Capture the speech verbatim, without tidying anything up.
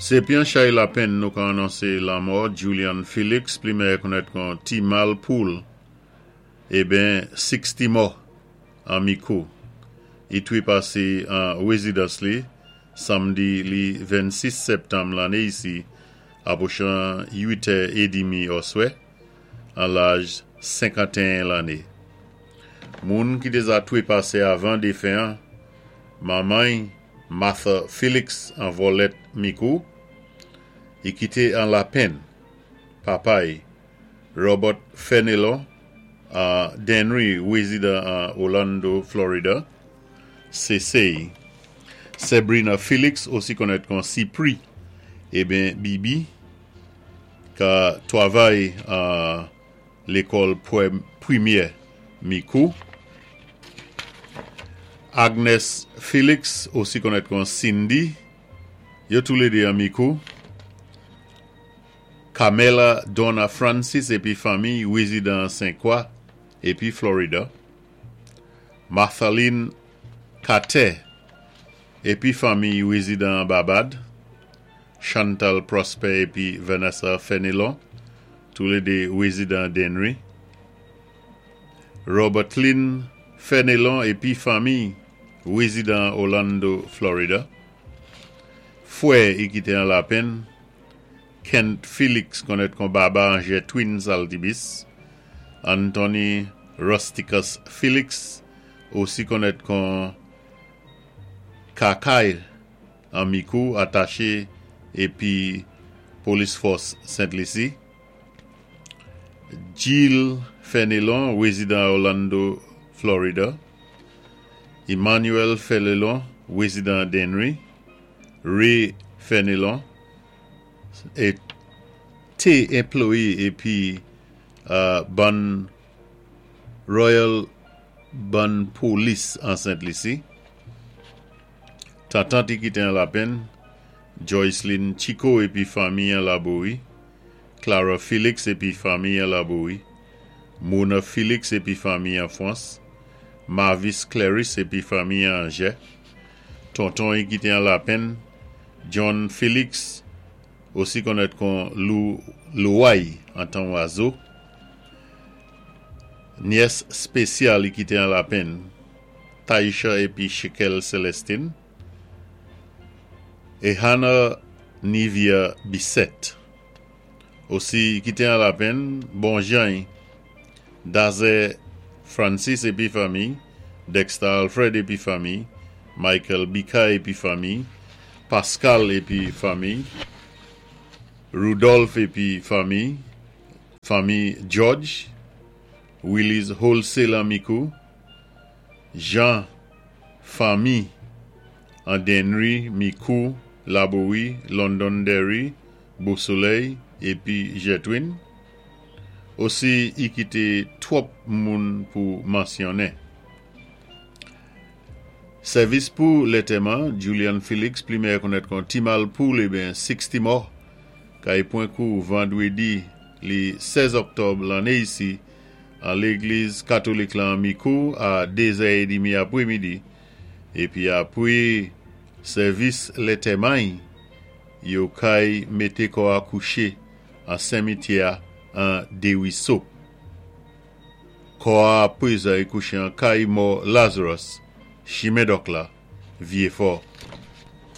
Sé pi an chay lapenn nou ka anonsé lanmò Julian Felix, pli meyè konnèt kon Ti Mal Poul, eben sixty mò an Micoud. I twépasé an wézidans li, samdi li vennsis sèptanm lanné isi, apwochan uit è édmi oswè, an laj senkantéen lanné. Moun ki déza twépasé avan défen an, manman Martha Felix an Vòlèt Micoud, i kité an lapenn, papay Robert Fenelon a Dennery, wézidan an Orlando, Florida, sé sè Sabrina Felix, osi konnèt kon Cipri, eben Bibi, ka twavay a lékòl pwimyè Micoud. Agnes Felix, osi konnèt kon Cindy, yo toulédé an Micoud. Camela Donna Francis épi fanmi, wézidan Saint-Croix épi Florida. Marthaline Kate épi fanmi, wézidan Barbade. Chantal Prosper épi Vanessa Fenelon, toulédé wézidan Dennery. Robert Lynn Fenelon épi fanmi, wézidan Orlando, Florida. Fwè i kité an lapenn, Kent Felix konnèt kon Baba an Twins Altibis, Anthony Rusticus Felix, osi konnèt kon Kakay an Micoud, ataché épi Police Force Saint-Lucie. Jill Fenelon, wézidan Orlando, Florida. Emmanuel Fenelon, wézidan Dennery. Ray Fenelon, é té anplwayé épi euh, bann Royal bann Police an Saint-Lucie. Tantant i kité an lapenn, Joycelyn Chico épi fanmi an Laborie. Clara Felix épi fanmi an Laborie. Mona Felix épi fanmi an Frans. Marvis Clarice épi fanmi an Angers. Tonton i kité an lapenn, John Felix, osi konnèt kon Lou Louay an Tan Oiseau. Nyès spésyal i kité an lapenn, Taisha épi Shekel Celestine. É Hannah Nivia Bissett. Osi kité an lapenn, Bonjean, Daze Francis épi fanmi, Dexter Alfred épi fanmi, Michael Bika épi fanmi, Pascal épi fanmi, Rudolph épi fanmi, fanmi George, Willis Wholesale an Micoud, Jean fanmi an Dennery, Micoud, Laborie, Londonderry, Beausoleil épi Jetwin. Osi i kité twòp moun pou mansyonnen. Sèvis pou lantèman, Julian Felix, pli meyè konnèt kon Timal Poul, eben sixty mò, kay pwan kou vandwédi li sèz òktòb lanné isi, an légliz katolik lan Micoud a dé zè édmi apwémidi, épi apwé sèvis lantèman, yo kay mété kò a kouché an simityè an Desruisseaux. Kò a pwézan kouché an kay mò Lazarus, Chimen Dòk la, Vieux-Fort.